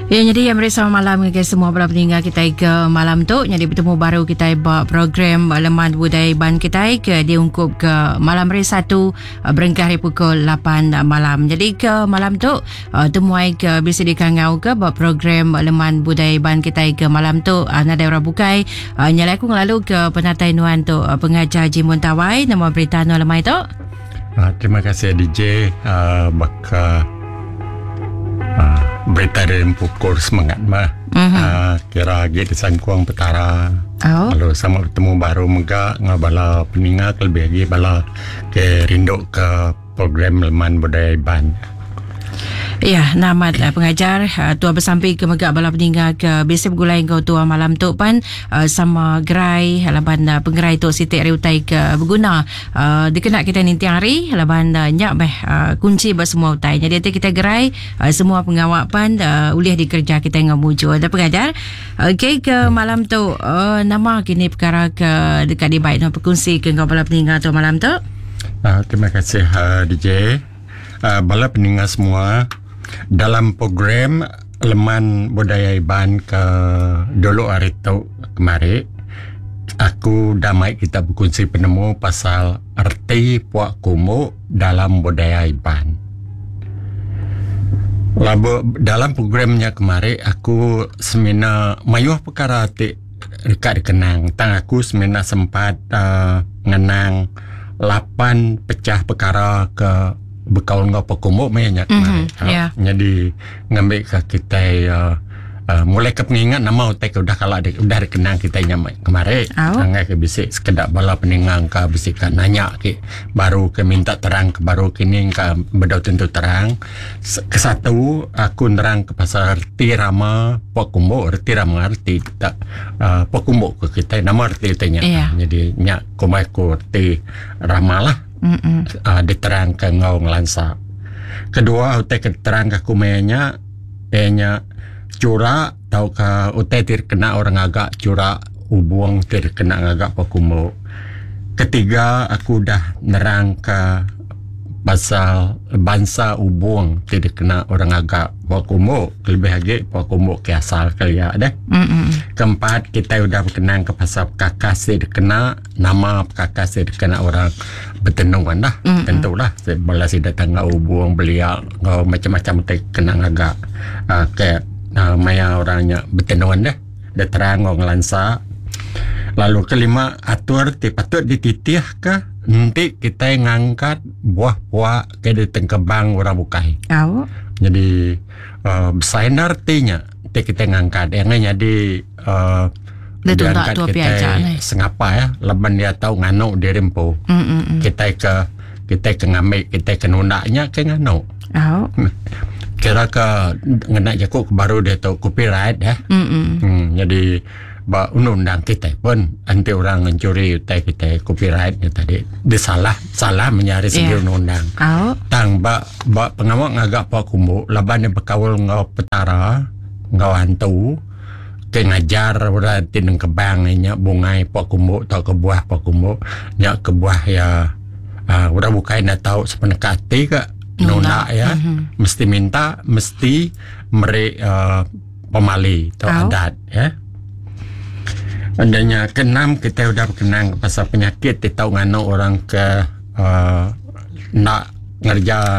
Ya nyadi meri selamat malam ngagai semua bala peninga kitai ke malam tu nyadi betemu baru kitai ba program Leman Budaya Iban kitai ke diungkup ke malam hari Satu eh, berengkah ari pukul 8 malam. Jadi ke malam tu eh, temuai ke bisi dikangau ke ba program Leman Budaya Iban kitai ke malam tu eh, nadai orang bukai nyalai aku ngelalu ke penatai nuan tu pengajar Jimun Tawai nama berita nuan lemai tu. Uh, terima kasih DJ uh, baka uh, berita dari pukul semangat mah. Mm-hmm. Uh, kira agi disangkung petara. Oh. Lalu sama bertemu baru mega ngau bala peninga lebih lagi bala ke rindu ke program Leman Budaya Iban. Ya, namat uh, pengajar uh, tua besampi ke mega bala peninga ke bisi begulai enggau tua malam tu pan uh, sama gerai laban uh, pengerai tu siti ari utai ke beguna uh, dikena kita ninting hari laban uh, nya meh uh, kunci ba semua utai. Jadi enti kita gerai uh, semua pengawa pan uh, ulih dikereja kita enggau mujur. Da pengajar. Okey ke malam tu uh, nama kini perkara ke deka dibai nuan pekongsi ke enggau bala peninga tu malam tu? Uh, terima kasih uh, DJ. Uh, bala peninga semua dalam program Leman Budaya Iban ke dulu hari tu kemari aku dah mai kita bekunsi penemu pasal erti puak kumbu dalam budaya Iban. Lalu dalam program nya kemari aku semina mayuh perkara ti deka dikenang tang aku semina sempat uh, ngenang 8 pecah perkara ke bekaul enggau pekumbu meh nya kemari. Mm -hmm. yeah. Jadi ngambi ke kitai uh, uh, mulai ke pengingat nama utai ke udah kala di, udah dikenang kitai nya kemari. Oh. Angai ke bisi sekeda bala peninga ke bisi ka nanya ke baru ke minta terang ke baru kini ke bedau tentu terang. Ke satu aku nerang ke pasal reti rama pekumbu reti rama reti tak uh, pekumbu ke kitai nama reti utai nya. Yeah. Jadi nya kumbai ku reti rama lah. Uh, diterangka enggau ngelansa. Kedua utai ke diterangka aku maya nya iya nya chura tauka utai ti dikena orang ngaga chura ubung ti dikena ngaga pekumbu. Ketiga aku udah nerangka pasal bansa ubung ti dikena orang ngaga pua kumbu kelebih agi pua kumbu ke asal kelia deh. Keempat kitai udah bekenang ke pasal pekakas ti dikena nama pekakas ti dikena orang betenun lah. Mm-hmm. Tentulah bala sida tangga ubung belia enggau macam-macam ti kena ngaga uh, ke uh, maya orang nya betenun deh. Dia terang enggau ngelansa. Lalu kelima atur ti patut dititihka enti kitai ngangkat buah pua ke ditengkebang orang bukai. Au. Jadi uh, besai endar reti nya ti kitai ngangkat yang nyadi uh, Dia tunda tua pia aja ni. Sengapa ya laban dia tau nganu diri empu. Mm -mm. Kitai ke kitai ke ngambi kitai ke nunda nya ke nganu. Au. Kira ke ngena jaku ke baru dia tu copyright ya. Mm -mm. Hmm, jadi ba undang-undang kitai pun enti orang ngencuri utai kitai copyright nya tadi dia salah salah menyari segi Yeah. undang-undang. Au. Tang ba ba pengawa ngaga pua kumbu laban dia bekaul enggau petara enggau antu ke ngajar orang ti nengkebang nya bungai pua kumbu tauka buah pua kumbu nya kebuah iya uh, orang bukai enda tau sepeneka ati ka nunda iya Mm -hmm. mesti minta mesti meri uh, pemali atau Au. adat ya. Adanya keenam kita udah berkenang pasal penyakit ti tau nganu orang ke uh, nak ngerja.